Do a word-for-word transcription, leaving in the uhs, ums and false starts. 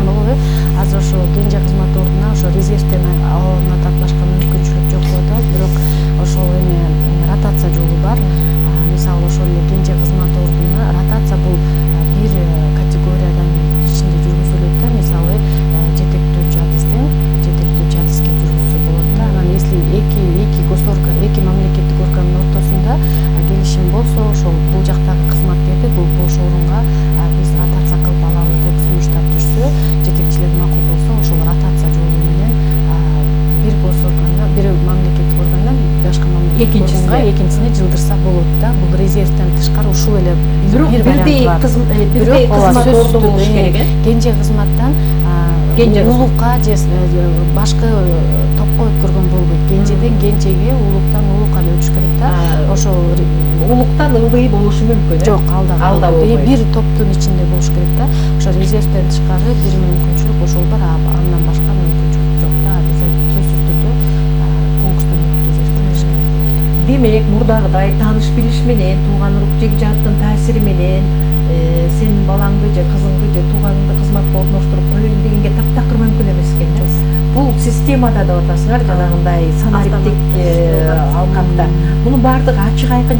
болобу? Азыр ошо кенже кызмат ордуна ошо резервден алынат башка мүмкүнчүлүк жок деп атабыз, бирок ошол эме ротация жолу бар. Мисалы ошол эле кенже кызмат ордуна ротация бул бир категориядан ичинде жүргүзүлөт да. Мисалы жетектөөчү адистен жетектөөчү адиске жүргүзсө болот да. Анан если эки эки госорган, эки мамлекеттик органдын ортосунда келишим болсо, ошол бул жактагы кызматкерди бул бош орунга биз ротация кылып алалы деп сунуштар түшсө, жетекчилер макул болсо, ошол ротация жолу менен бир госоргандан, бир мамлекеттик органдан башка мамлекеттик органга экинчисине жылдырса болот да. Бул резервден тышкары ушул эле бир бирдей бирдей кызмат орду болуш керек э. Кенже кызматтан улукка же башкы топко өткөргөн болбойт. Кенжеден кенжеге, улуктан улукка эле өтүш керек да. Ошол улуктан ылдый болушу мүмкүн э. Жок, алда алда болбойт. Бир топтун ичинде болуш керек да. Ошо резервден тышкары бир мүмкүнчүлүк ошол бар, андан башка мүмкүнчүлүк жок да. Биз сөзсүз түрдө конкурстан өткөзүш керек. Демек, мурдагыдай тааныш билиш менен, тууган урук жегижаттын таасири менен сенин балаңды же кызыңды же тууганыңды кызматка орноштуруп коеюн дегенге таптакыр мүмкүн эмес экен да. Бул системада деп атасыңар, жанагындай санариптик алкакта. Мунун баардыгы ачык айкын